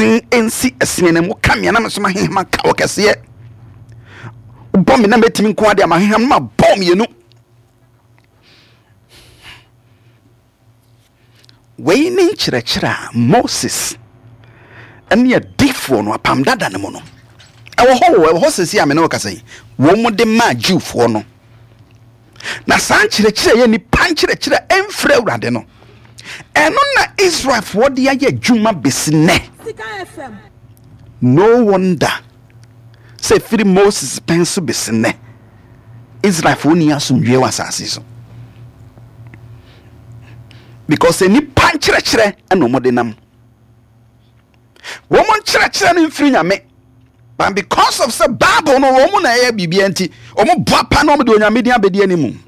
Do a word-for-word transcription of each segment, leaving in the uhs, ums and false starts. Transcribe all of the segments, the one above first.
Ɛsen nsi ɛsen no mu ka mmea na me so maheham aka wɔ kɛseɛ. Wobɔ me na mɛtumi nko adeɛ a maheham no mabɔ mmienu. Wei ne nkyerɛkyerɛ a Moses ne adiyifoɔ no apam dada no mu no ɛwɔ hɔ o, ɛwɔ hɔ sɛsi a me ne wo kasa yi, wɔn de maa Jewfoɔ no. Na saa nkyerɛkyerɛ yɛ nipa nkyerɛkyerɛ a ɛmfiri Awurade no, ɛno na Israelfoɔ de ayɛ adwuma bɛsi nnɛ. No wonder sɛ ɛfiri Moses pɛn so bɛsi nnɛ, Israelfoɔ nni asomdwoeɛ wɔ asase so. Because nipa nkyerɛkyerɛ ɛna wɔn de nam. Wɔn nkyerɛkyerɛ no mfiri Nyame. But because of sɛ Bible no wɔn na ɛyɛ biribiara nti, wɔn boa pa na wɔn de Onyame din abɛdi anim.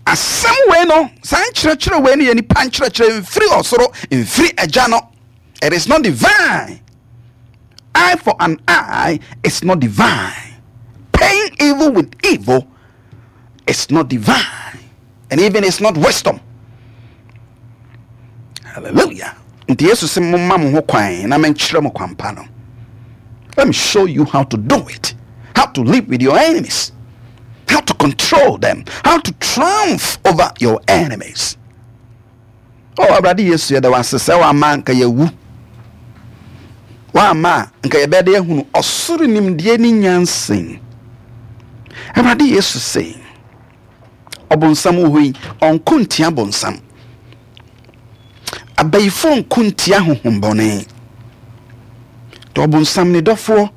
Asɛm wei no, saa nkyerɛkyerɛ wei no yɛ nipa nkyerɛkyerɛ, mfiri ɔsoro, mfiri agya no. It is not divine. Eye for an eye is not divine. Paying evil with evil is not divine. And even it's not wisdom. Hallelujah. Nti Yesu sɛ momma mo ho kwan na menkyerɛ mo kwan pa no. Let me show you how to do it. How to live with your enemies. How to control them. How to triumph over your enemies. Oh, Awurade Yesu, yɛda wo ase sɛ wama nka yɛwu. Wama nka yɛbɛde ahunu ɔsoro nimdeɛ ne nyansa. Awurade Yesu sɛ, ɔbonsam wɔ hɔ yi, ɔnko ntia bonsam. Abayifoɔ nko ntia honhommɔne. Nti ɔbonsam ne dɔfoɔ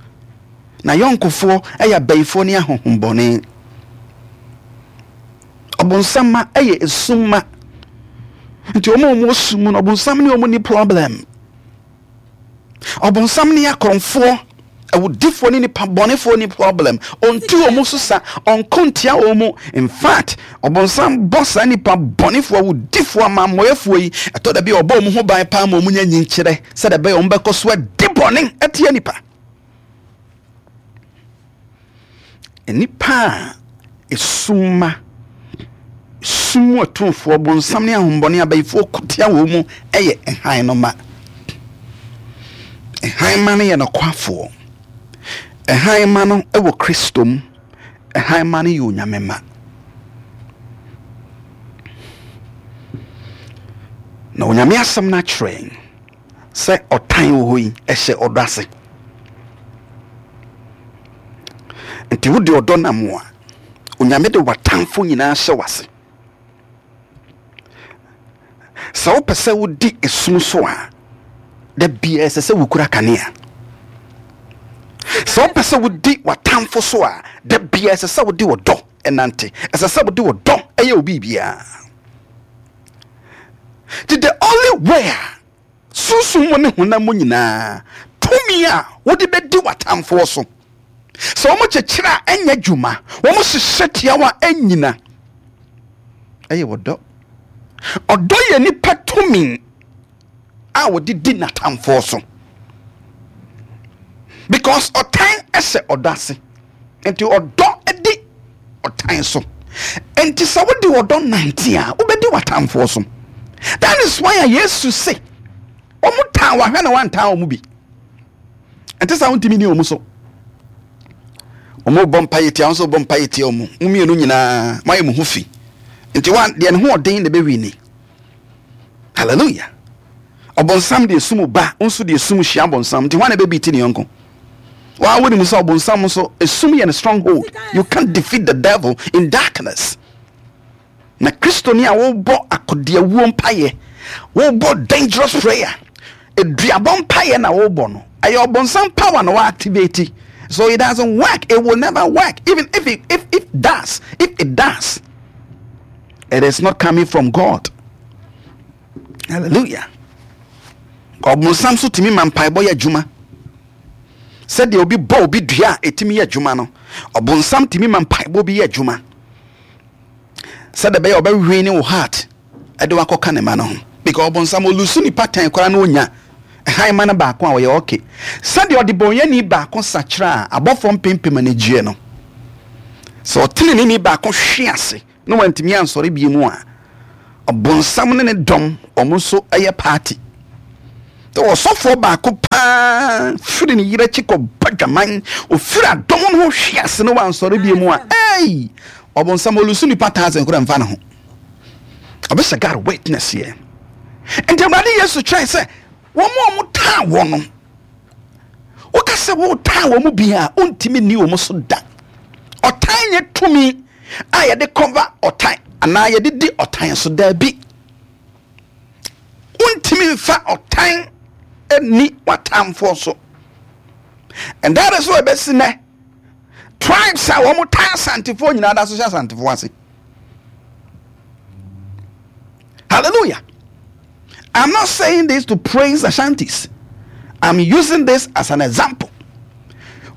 na yɔnkofoɔ yɛ abayifoɔ ne ahonhommɔne. Ɔbonsam ma yɛ esum ma. Nti wɔn a wɔwɔ sum mu no, ɔbonsam ne wɔn ni problem. Ɔbonsam ne akorɔmfoɔ, awudifoɔ ne nipa bɔnefoɔ ni problem. Ɔntu wɔn so sa, ɔnko ntia wɔn mu. In fact, ɔbonsam bɔ saa nipa bɔnefoɔ, awudifoɔ, amammɔeɛfoɔ yi, ɛtɔ da bi a ɔbɔ wɔn ho ban paa ma wɔn nya nyinkyerɛ sɛdeɛ ɛbɛyɛ wɔn bɛkɔ so adi bɔne atia nipa. Nnipa a esum ma, sum mu atumfoɔ, bonsam ne ahombɔne abayifoɔ ko tia wɔn mu yɛ hann no ma. Hann ma no yɛ nokwafoɔ. Hann ma no wɔ Kristo mu. Hann ma no yɛ Onyame ma. Na Onyame asɛm no akyerɛ yɛn sɛ ɔtan wɔ hɔ yi, ɛhyɛ ɔdɔ ase. Nti wode ɔdɔ nam a, Onyame de w'atamfo nyinaa hyɛ w'ase. Sɛ wopɛ sɛ wodi esum so a, da biara ɛsɛ sɛ wokura kanea. Sɛ wopɛ sɛ wodi w'atamfo so a, da biara ɛsɛ sɛ wode ɔdɔ ɛnante. Ɛsɛ sɛ wode ɔdɔ ɛyɛ wo biribiara. Nti the only way a sunsum mu ne honam mu nyinaa tumi a wode bɛdi w'atamfoɔ so, sɛ wɔn kyekyere a ɛnyɛ adwuma, wɔn hyehyɛ tia wo a ɛnyina, ɛyɛ ɔdɔ. Ɔdɔ yɛ nipa tumi a wɔde di n'atamfoɔ so, because ɔtan ɛhyɛ ɔdɔ ase. Nti ɔdɔ di ɔtan so. Nti sɛ wode ɔdɔ nante a, wobɛdi w'atamfoɔ so. That is why a Yesu se wɔn tan wahwɛ na wantan wɔn bi. Nti sɛ wontumi ni wɔn so. Wɔn bɔ mpa yɛ tia, wɔn nso bɔ mpa yɛ tia wɔn. Mo mmienu nyinaa mo ayɛ mo ho fi. Nti wa deɛ ne ho ɔden na ɛbɛwi ni. Hallelujah. Ɔbɔnsam deɛ sum ba, nso deɛ sum hyia bɔnsam. Nti hwan na ɛbɛbi ti ne yɔnko? Wa wo nim sɛ ɔbɔnsam nso esum yɛ ne stronghold. You can't defeat the devil in darkness. Na Kristo ni a wobɔ akodeawuo mpaeɛ, wobɔ dangerous prayer, eduabɔ mpaeɛ na wobɔ no. Ɛyɛ ɔbɔnsam power na wa activate. So it doesn't work. It will never work. Even if it, if it does, if it does, it is not coming from God. Hallelujah. Ɔbɔnsam so tumi ma mpaebɔ yɛ adwuma. Sɛdeɛ obi bɔ obi dua a ɛtumi yɛ adwuma no, ɔbɔnsam tumi ma mpaebɔ bi yɛ adwuma. Sɛdeɛ ɛbɛyɛ ɔbɛwe ne wo heart ɛde wakɔka ne ma no ho. Because ɔbɔnsam olusu nipa tan koraa na onya hann ma no baako a ɔyɛ okay. Sɛdeɛ ɔde bɔnyɛni baako sakyera a abɔfoɔ mpempem ani gyeɛ no, sɛ ɔteneneni baako hwe ase na wantumi ansɔre bie mu a, ɔbɔnsam ne ne dɔm wɔn nso yɛ party. Sɛ ɔsɔfoɔ baako paa firi ne yerɛ akyi kɔbɔ dwaman, ɔfiri adɔm no ho hwe ase na wansɔre bio mu a, ei, ɔbonsam ɔlusu nipa thousand koraa mfa ne ho. Ɔbɛhyɛ God witness yɛ. Nti Awurade Yesu kyerɛe sɛ wɔn a wɔtaa wɔ no, woka sɛ wotaa wɔn mu bi a, wontumi nni wɔn so da. Ɔtan nyɛ tumi a yɛde cover ɔtan anaa yɛde di ɔtan so daabi. Wontumi mfa ɔtan nni w'atamfoɔ so. And that is why ɛbɛsi nɛ tribes a wɔn tan Asantefoɔ nyinaa da so hyɛ Asantefoɔ ase. Hallelujah. I'm not saying this to praise Ashantis. I'm using this as an example.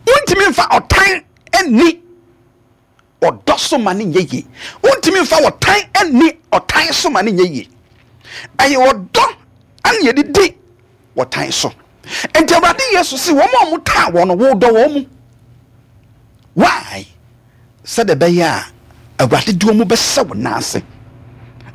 Wontumi mfa ɔtan nni ɔdɔ so ma ne nyɛ yie. Wontumi mfa ɔtan nni ɔtan so ma ne nyɛ yie. Ɛyɛ ɔdɔ ɛna yɛde di ɔtan so. Nti Awurade Yesu si wɔn a wɔtaa wɔn no, wɔdɔ wɔn mu. Why? Sɛdeɛ ɛbɛyɛ a Awurade de wɔn bɛhyɛ wɔn nan ase.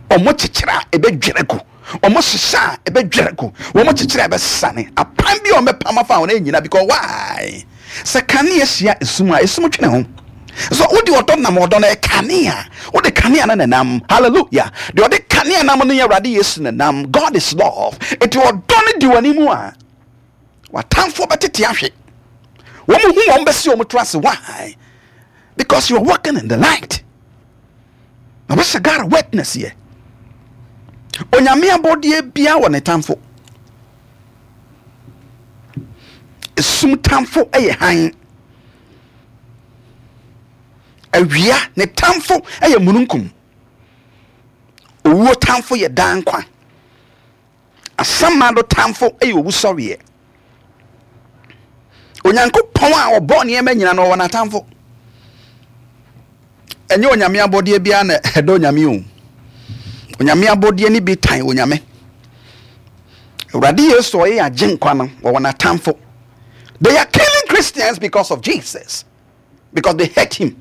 Wɔn kyekyere a ɛbɛdwere gu, wɔn hyehyɛ a ɛbɛdwere gu, wɔn kyekyere a ɛbɛsane. Apam bi a wɔbɛpam afa wɔn nyina because why? Sɛ kanea hyia esum a, esum twe ne ho. So wode ɔdɔ nam ɔdɔ no yɛ kanea. Wode kanea no nenam. Hallelujah. Deɛ ɔde kanea nam no yɛ Awurade Yesu nenam. God is love. Eti ɔdɔ no di wɔn anim a, w'atamfoɔ bɛtete ahwe. Wɔn hu wɔn bɛsi wɔn to ase. Why? Because you are walking in the light. Na wɔhyɛ God witness yɛ. Onyame abɔdeɛ bia wɔ ne tamfo. Esum tamfo yɛ hann. Awia ne tamfo yɛ mununkum. Owuo tamfo yɛ daa nkwa. Asamando tamfo yɛ owusɔreɛ. Onyankopɔn a ɔbɔ nneɛma nyina no ɔwɔ n'atamfo. Ɛnyɛ onyame abɔdeɛ biara na ɛdɔ onyame o. Onyame abɔdeɛ no bi tan onyame. Awurade Yesu ɔyɛ agye nkwa no wɔwɔ n'atamfo. They are killing Christians because of Jesus. Because they hate him.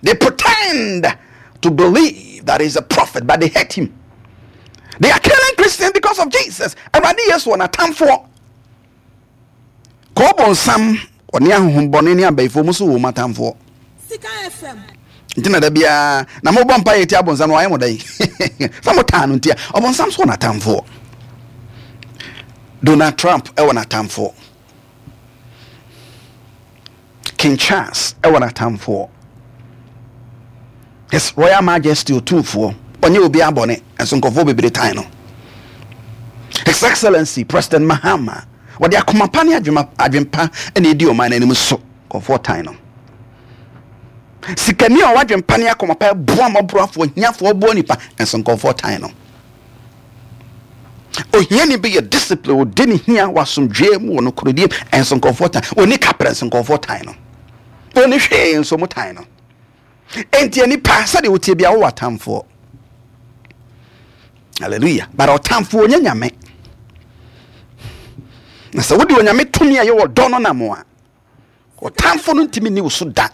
They pretend to believe that he's a prophet, but they hate him. They are killing Christians because of Jesus. Awurade Yesu wɔ n'atamfoɔ. Kɔɔbɔ nsam ɔne ahohombɔne ne abayifoɔ mu so wɔ wɔn atamfoɔ. Nti na da biara na mobɔ mpa yɛ ti abɔnsam no wayɛ mo dɛn? Sɛ mo taa no nti a ɔbɔnsam so wɔ n'atamfoɔ. Donald Trump ɛwɔ n'atamfoɔ. King Charles ɛwɔ n'atamfoɔ. His Royal Majesty Otumfoɔ ɔnyɛ obi abɔne nso nkurɔfoɔ bebree tan no. His Excellency President Mahama wɔde akoma pa ne adwempa na edi ɔman n'anim so nkurɔfoɔ tan no. Sikani a ɔwɔ adwempa ne akoma pa ɛboa mmɔborɔfoɔ hiafoɔ boa nipa nso nkurɔfoɔ tan no. Ohiani bi yɛ discipline odi ne hia wɔ asomdwoeɛ mu wɔ nokoredie nso nkurɔfoɔ tan oni kaprɛ nso nkurɔfoɔ tan no. Oni hwee nso mo tan no. Enti nipa sɛdeɛ wotie bia wowɔ atamfoɔ. Hallelujah. But ɔtamfoɔ onye nyame. Na sɛ wode onyame tumi a ɛyɛ ɔdɔ no nam a, ɔtamfo no ntumi nni wo so da.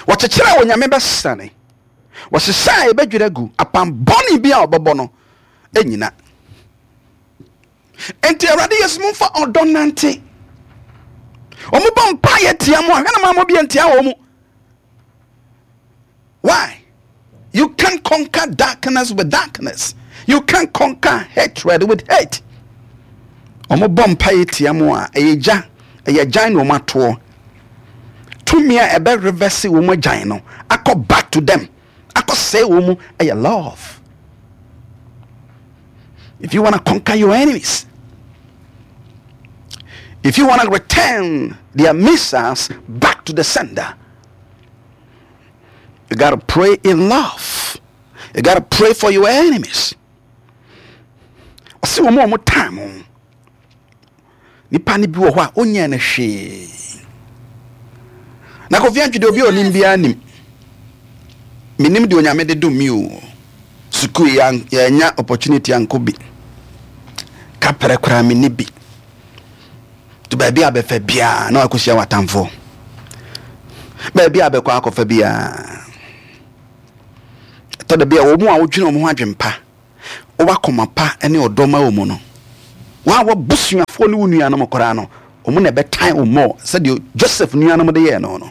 Wɔkyekyere a onyame bɛsane. Wɔhyehyɛ a yɛbɛdwiri agu. Apam bɔne bi a ɔbɛbɔ no nyina. Enti Awurade Yesu momfa ɔdɔ nante. Wɔn bɔ mpaeɛ tia mo a, hwɛ na maa mo bi ntia wɔn mu. Why? You can't conquer darkness with darkness. You can't conquer hatred with hate. Wɔn bɔ mpaeɛ tia mo a, ɛyɛ gya, ɛyɛ gyan na wɔn atoɔ. Tumi a ɛbɛ reverse wɔn agyan no akɔ back to them, akɔ sɛe wɔn mu ɛyɛ love. If you want to conquer your enemies, if you want to return their missiles back to the sender, you got to pray in love. You got to pray for your enemies. Ɔsɛ wɔn a wɔn tan mo. Nipa no bi wɔ hɔ a onyɛ no hwee. Na Kofi Antwi deɛ obi a onim biara nim. Menim deɛ Onyame de dom mi o. Sukuu yɛanya opportunity ankɔ bi. Kaprɛ koraa menni bi. To baabi a bɛfa biara na wakɔhyia w'atamfoɔ. Baabi a bɛkɔ akɔfa biara. Ɛtɔ da bi a wɔn a wodwene wɔn ho adwempa, wowɔ akoma pa ne ɔdɔ ma wɔn no, Wa wabusuafoɔ ne wo nuanom koraa no, ɔmo na ɛbɛtan wo mmɔ sɛdeɛ Joseph nuanom de yɛɛ no no.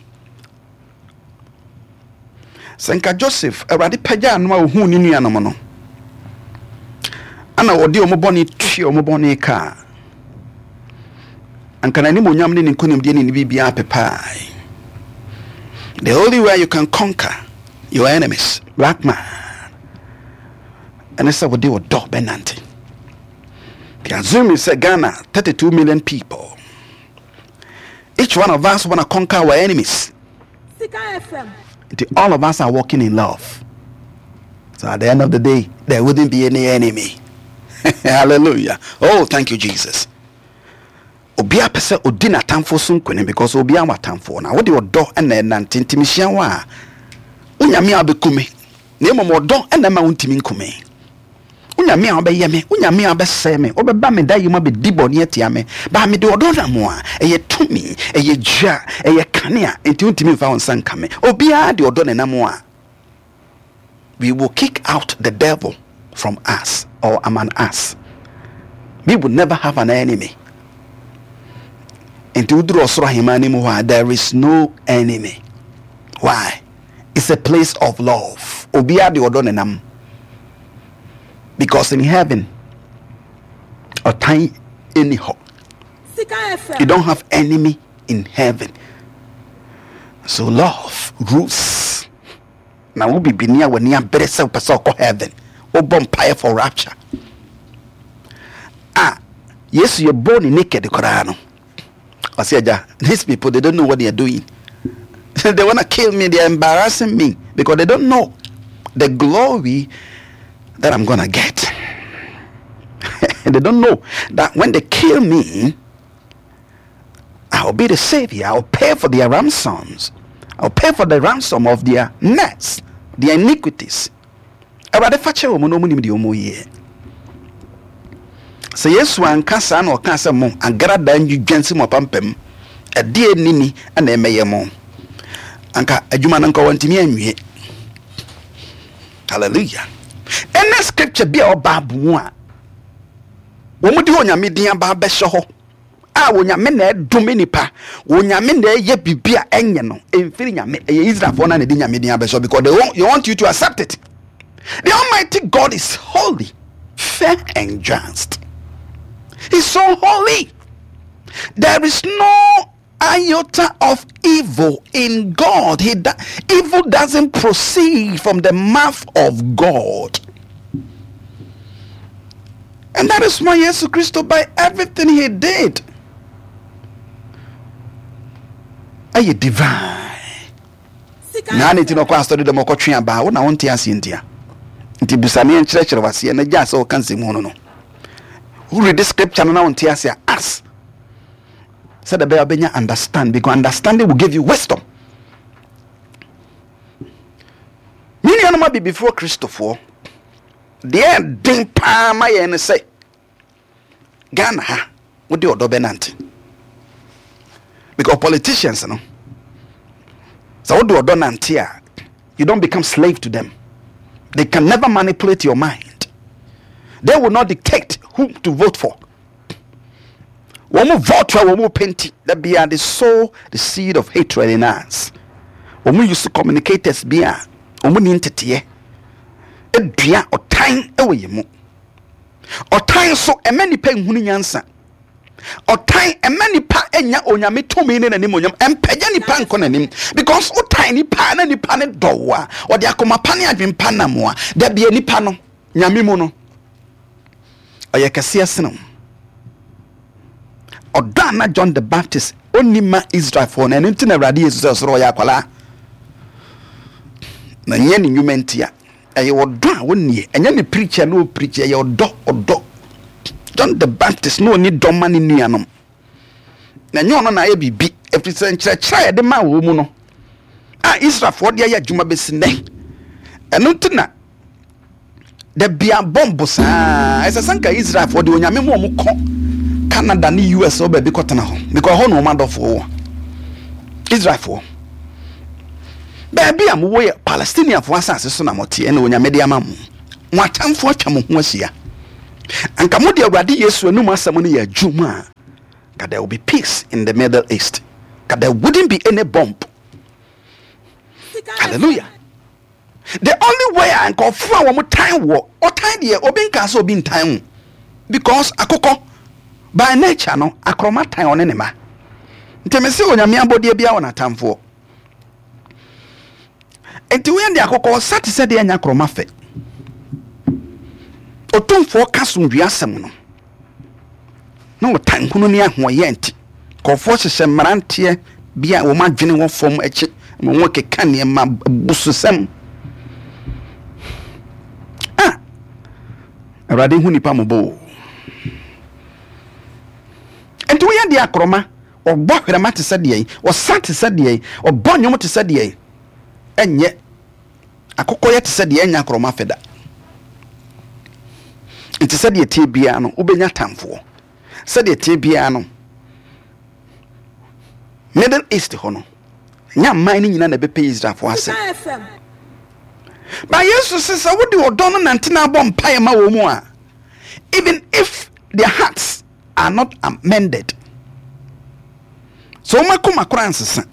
Sɛ nka Joseph, Awurade pagyaa no a ohuu ne nuanom no, ana ɔde ɔmo bɔne tua ɔmo bɔne kaa, anka n'animonyam ne ne nkonimdie ne ne biribiara pepae. The only way you can conquer your enemies, black man, ɛne sɛ wode ɔdɔ bɛnante. The assuming sɛ Ghana, thirty-two million people, each one of us wanna conquer our enemies. Sika F M. Nti all of us are walking in love, so at the end of the day there wouldn't be any enemy. Hallelujah! Oh, thank you, Jesus. Obiara pɛ sɛ odi n'atamfo so nkonim because obiara wɔ atamfoɔ, na wode ɔdɔ ɛna ɛnante. Nti mehyia wo a, wonyame a wobɛku me, na mmom ɔdɔ ɛna ɛma wontumi nku me. Wonyame a wobɛyɛ me, wonyame a wobɛsɛe me, wobɛba me da yi mu abɛdi bɔne atia me baa, mede ɔdɔ nam a ɛyɛ tumi, ɛyɛ dua, ɛyɛ kanea, nti wontumi mfa wo nsa nka me. Obiara de ɔdɔ ne nam a, we will kick out the devil from us or among us. We will never have an enemy. Nti woduru ɔsoro ahemman no mu hɔ a, there is no enemy. Why? It's a place of love. Obiara de ɔdɔ ne nam because in heaven ɔtan ɛni hɔ. Sika F M. You don't have enemy in heaven, so love rules. Na wo bibini a w'ani abere sɛ wopɛ sɛ ɔkɔ heaven, wobɔ mpaeɛ for rapture a, Yesu yɛ bɔ ne naked koraa no, ɔsɛ, "Agya, these people, they don't know what they are doing. They wanna kill me. They are embarrassing me because they don't know the glory that I'm gonna get. They don't know that when they kill me, I'll be the savior. I'll pay for their ransoms. I'll pay for the ransom of their mess, their iniquities. Awurade, fa kyerɛ wɔn na wɔn nim deɛ wɔn yɛ." Sɛ Yesu anka saa na ɔka sɛ mo agrada ndwidwa nsi mo apampam, ɛdeɛ nini ɛna ɛmɛyɛ mo, anka adwuma no nka wɔntumi anwie. Hallelujah! Ɛnɛ scripture bi a ɔba mu a wɔn de Onyame din aba abɛhyɛ hɔ a Onyame na ɛdome nipa, Onyame na ɛyɛ biribi a ɛnyɛ no, ɛmfiri Nyame. Ɛyɛ Israelfoɔ na na ɛde Nyame din abɛhyɛ because they want, they want you to accept it. The Almighty God is holy, fair and just. He's so holy. There is no iota of evil in God. He do, evil doesn't proceed from the mouth of God. And that is why Jesus Christ, by everything he did, ɛyɛ divine. Sika Na ne ti F M. na ɔkɔ asɔre dɛm ɔkɔtwe abaa wo na wonte aseɛ ntia. Nti busaneɛ nkyerɛkyerɛ waseɛ na gyaa sɛ wɔka nsɛm hu no no Woredi scripture no na wonte aseɛ a, ask sɛdeɛ ɛbɛyɛ a wobɛnya understand, because understanding will give you wisdom. Me nuanom abibifoɔ Kristofoɔ, deɛ ɛden paa ma yɛn ne sɛ Ghana ha wode ɔdɔ bɛnante, because politicians no, sɛ wode ɔdɔ nante a, you don't become slave to them. They can never manipulate your mind. They will not dictate who to vote for. Wɔn mu vote a wɔn mu penti that be they sow the seed of hatred in us. Wɔn mu use communicators bi a wɔn ni nteteɛ edua ɔtan ɛwɔ yɛn mu. Ɔtan so ɛmɛ nipa nhunu nyansa. Ɔtan ɛmɛ nipa enya Onyame tumi ne n'anim onyam. Ɛmpɛgya nipa nkɔ n'anim because ɔtan nipa na nipa ne dɔw a ɔde akoma pa ne adwempa nam a, dabi, nipa no Nyame mu no ɔyɛ kɛseɛ sene wo. Ɔdɔ a na John the Baptist ɔnni ma Israelfoɔ no, ɛno nti na Awurade Yesu sɛ ɔsoro ɔyɛ akwalaa na nyɛ ne nnwuma ntia. Ɛyɛ ɔdɔ a wɔnnie, ɛnyɛ ne preacher na ɔpreach. Ɛyɛ ɔdɔ. Ɔdɔ John the Baptist na ɔni dɔ ma ne nuanom na ɛnyɛ ɔno na ayɛ biribi, ɛfiri sɛ nkyerɛkyerɛ a yɛde ma wɔ mu no a Israelfoɔ de ayɛ adwuma bɛsi nnɛ. Ɛno nti na da bia bɔmbo saa. Ɛsɛ sɛ nka Israelfoɔ de Onyame mu ɔmo kɔ Canada ne U S wɔ baabi kɔtena hɔ because ɛhɔ na ɔmo adɔfoɔ wɔ. Israelfoɔ, baabi a mowɔ yɛ Palestiniafoɔ asase so na moteɛ na Onyame de ama mo. Mo atamfoɔ atwa mo ho ahyia. Anka mode Awurade Yesu anum asɛm no yɛ adwuma a, ka there will be peace in the Middle East. Ka there wouldn't be any bomb. Hallelujah. The only way a nkurɔfoɔ a wɔn tan wɔ ɔtan deɛ, obi nka sɛ obi ntan wo, because akokɔ by nature no, akorɔma tan ɔne ne ma. Nti me sɛ Onyame abɔdeɛ bi a wɔ n'atamfoɔ, nti woyɛ de akokɔ ɔsa te sɛ deɛ ɛnya akorɔma fɛ. Otumfoɔ ka somdwe asɛm no na ɔtan hunu ne ahoɔyɛ, nti nkurɔfoɔ hyehyɛ mmeranteɛ bi a wɔn adwene wɔ fam akyi ma wɔn keka nneɛma bususɛm ah. Awurade hu nipa mmɔbɔ o. Nti woyɛ deɛ akorɔma ɔbɔ hwerɛma te sɛ deɛ ɔsa te sɛ deɛ ɔbɔ nnwom te sɛ deɛ ɛnyɛ akokɔ yɛ te sɛ deɛ ɛnyɛ akorɔma fɛ da. Nti sɛdeɛ tie biara no, wobɛnya tamfoɔ. Sɛdeɛ tie biara no, Middle East hɔ no, nyɛ aman no nyinaa na ɛbɛpɛ Israelfoɔ asɛm. Sika F M. Ba Yesu sɛ sɛ wode ɔdɔ no nante na abɔ mpaeɛ ma wɔ mu a, even if their hearts are not amended, so wɔn akoma koraa nsesa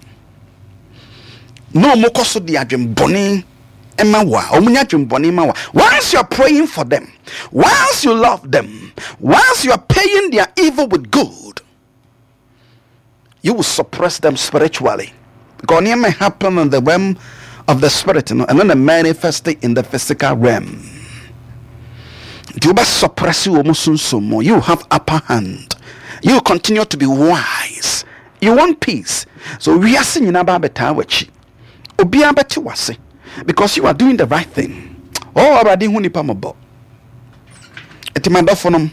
na wɔn kɔ so de adwembɔne ma wo a, wɔn nya adwembɔne ma wo a, once you are praying for them, once you love them, once you are paying their evil with good, you will suppress them spiritually, because nneɛma happen in the realm of the spirit no, ɛno na manifest in the physical realm. Nti wobɛ suppress wɔ mu sunsum mu, you have upper hand, you continue to be wise, you want peace. So wiase nyinaa ba abɛtaa w'akyi, obiara bɛte w'ase because you are doing the right thing. Oh, Awurade hu nipa mmɔbɔ. Nti madɔfo nom,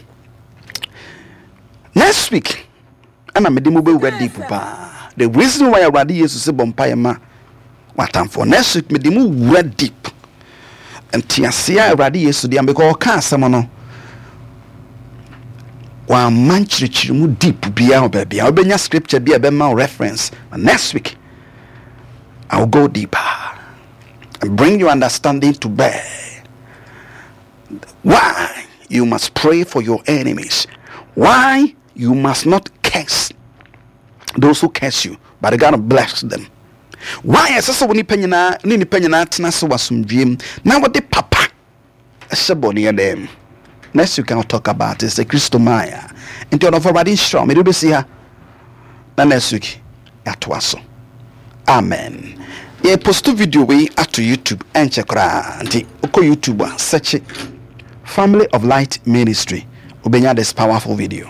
next week ɛna mede mu bɛwura deep paa, the reason why Awurade Yesu sɛ bɔ mpaeɛ ma w'atamfoɔ. Next week mede mu wura deep nteaseɛ a Awurade Yesu deɛ, because ɔka asɛm no, wamma nkyerɛkyerɛ mu deep biara wɔ baabi a wobɛnya scripture bi a ɛbɛma wo reference. But next week I will go deeper and bring your understanding to bear why you must pray for your enemies, why you must not curse those who curse you, but you gotta bless them, why ɛsɛ sɛ wo nipa nyinaa ne nipa nyinaa tena se wɔ asomdwie mu na wɔde papa ɛhyɛ bɔne dɛm. Next week I'll talk about it. Sɛ Kristo maaya nti, ɔdɔfo, Awurade nhyira wo. Mede wobɛsi ha na next week yɛatoa so. Amen. Yɛ post video wei ato YouTube ɛnkyɛ koraa, nti wokɔ YouTube a, search Family of Light Ministry, wobɛnya this powerful video.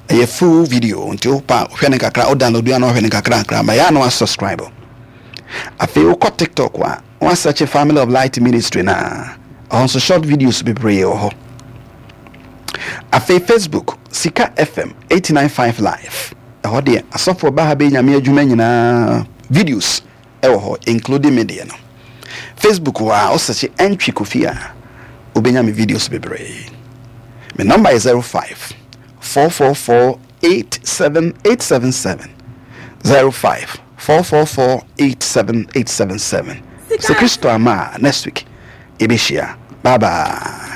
Ɛyɛ full video, nti wopa hwɛ ne kakra, wo download a na wohwɛ ne kakra kakra ma yɛ a na wasubscribe. Afei wokɔ TikTok a, wasearch Family of Light Ministry na ɛhɔ nso short videos bebree wɔ hɔ. Afei Facebook, Sika F M eight nine five Live, ɛhɔ deɛ asɔfoɔ ba ha bɛyɛ Nyame adwuma nyinaa videos ɛwɔ hɔ, including me deɛ no. Facebook hɔ a, wosearch Ɛntwi Kofi a, wobɛnya me videos bebree. Me number yɛ zero five four four four eight seven eight seven seven, zero five four four four eight seven eight seven seven. Sɛ Kristo ama a, next week yɛbɛhyia. Bye bye.